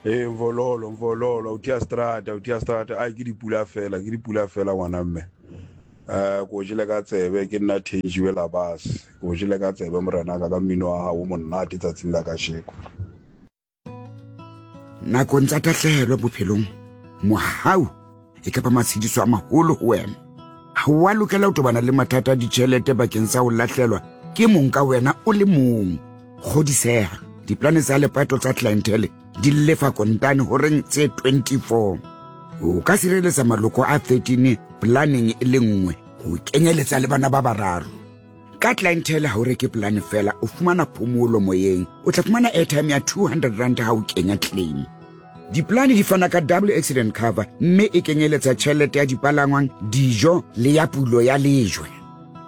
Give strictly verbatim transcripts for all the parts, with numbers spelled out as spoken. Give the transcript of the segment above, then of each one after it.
Ee, Mvololo, Mvololo, o tia strata, o tia strata. Ai, ke dipula fela, ke dipula fela ngwana mme. Eh, ko jele ka tsebe ke nna Thenjiwe Labas. Ko jele ka tsebe morena ka ka mmino wa hao o monate tsatsing la kasheko. Nakong tsa tahlehelo bophelong, mohau e ka ba matshediso a maholo ho wena. Ha wa lokela ho tobana le mathata a ditjhelete bakeng sa ho lahlelwa ke mong ka wena o le mong. Kgodiseha, diplane tsa lepato tsa Clientele di lefa kontane horeng tse twenty-four. O ka sireletsa maloko a thirteen planeng e le nngwe ho kenyeletsa le bana ba bararo. Ka Clientele ha o reke plane fela, o fumana phomolo moyeng. O tla fumana airtime ya two hundred rand ha o kenya claim. Diplane di fana ka double accident cover mme e kenyeletsa tjhelete ya dipalangwang, dijo le ya pulo ya lejwe.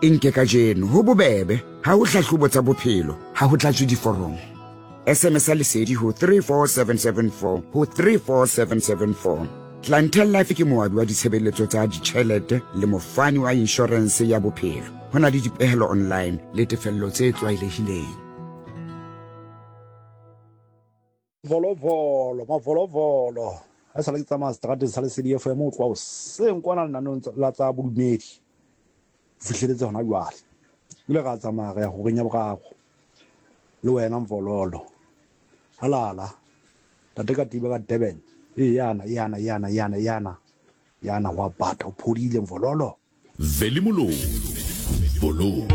E nke kajeno ho bobebe, ha ho hlahlobo tsa bophelo, ha ho tlatswe diforomo. S M S ya lesedi ho three four seven seven four ho three four seven seven four. Clientele Life ke moabi wa ditshebeletso tsa ditjhelete le mofani wa inshorense ya bophelo. Ho na le dipehelo online le tefello tse tlwaelehileng. Volovolo, mavolovolo. Ha e sale ke tsamaya seterateng sa Lesedi F M ho tloha hoseng kwana lenaneong la tsa bodumedi. Ho fihleletse hona jwale. Ebile ra tsamaya re ya horeng ya boraro. Le wena Mvololo. Halala. Ntate Katiba ka Durban. E yana, yana, yana, yana, yana. Yana wa bata, o phodile Mvololo. Veli Mololo. Vololo.